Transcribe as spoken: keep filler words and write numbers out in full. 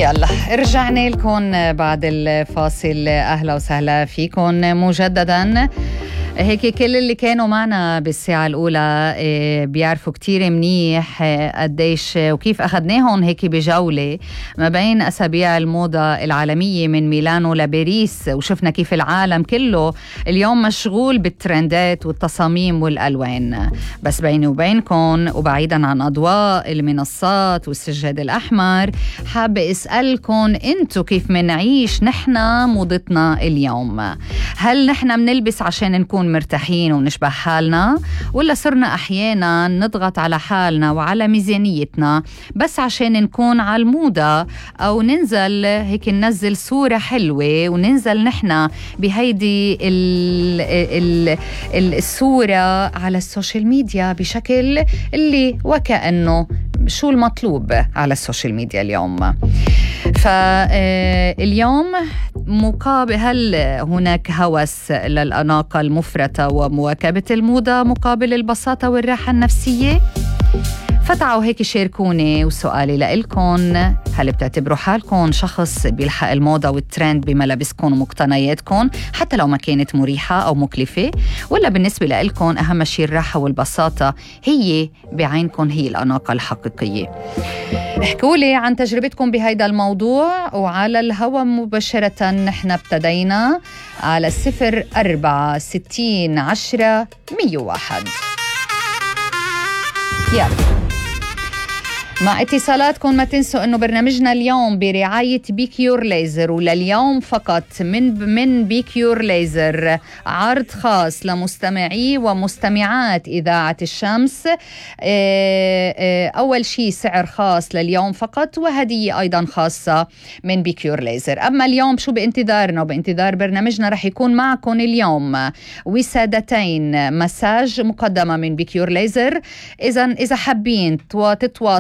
يلا رجعنا لكم بعد الفاصل. أهلا وسهلا فيكم مجددا. هيك كل اللي كانوا معنا بالساعة الأولى بيعرفوا كتير منيح قديش وكيف أخذناهم هيك بجولة ما بين أسابيع الموضة العالمية من ميلانو لباريس، وشفنا كيف العالم كله اليوم مشغول بالترندات والتصاميم والألوان. بس بيني وبينكم وبعيدا عن أضواء المنصات والسجاد الأحمر، حابة أسألكم أنتو كيف منعيش نحنا موضتنا اليوم؟ هل نحنا منلبس عشان نكون مرتاحين ونشبه حالنا، ولا صرنا أحيانا نضغط على حالنا وعلى ميزانيتنا بس عشان نكون على الموضة، أو ننزل هيك ننزل صورة حلوة وننزل نحنا بهيدي ال ال ال الصورة على السوشيال ميديا بشكل اللي وكأنه شو المطلوب على السوشيال ميديا اليوم؟ فاليوم مقابل هل هناك هوس للأناقة المفرطة ومواكبة الموضة مقابل البساطة والراحة النفسية؟ فتعوا هيك شاركوني، وسؤالي لإلكن: هل بتعتبروا حالكم شخص بيلحق الموضة والترند بملابسكم ومقتنياتكم حتى لو ما كانت مريحة أو مكلفة؟ ولا بالنسبة لإلكن أهم شيء الراحة والبساطة هي بعينكم هي الأناقة الحقيقية؟ احكولي عن تجربتكم بهيدا الموضوع، وعلى الهوا مباشرة نحن ابتدينا على الصفر أربعة ستين عشرة مية واحد. يلا مع اتصالاتكم. ما تنسوا انه برنامجنا اليوم برعاية بيكيور ليزر، ولليوم فقط من من بيكيور ليزر عرض خاص لمستمعي ومستمعات إذاعة الشمس. أول شيء سعر خاص لليوم فقط، وهدية أيضا خاصة من بيكيور ليزر. أما اليوم شو بانتظارنا وبانتظار برنامجنا؟ رح يكون معكم اليوم وسادتين مساج مقدمة من بيكيور ليزر. إذا إذا حابين تتواصلوا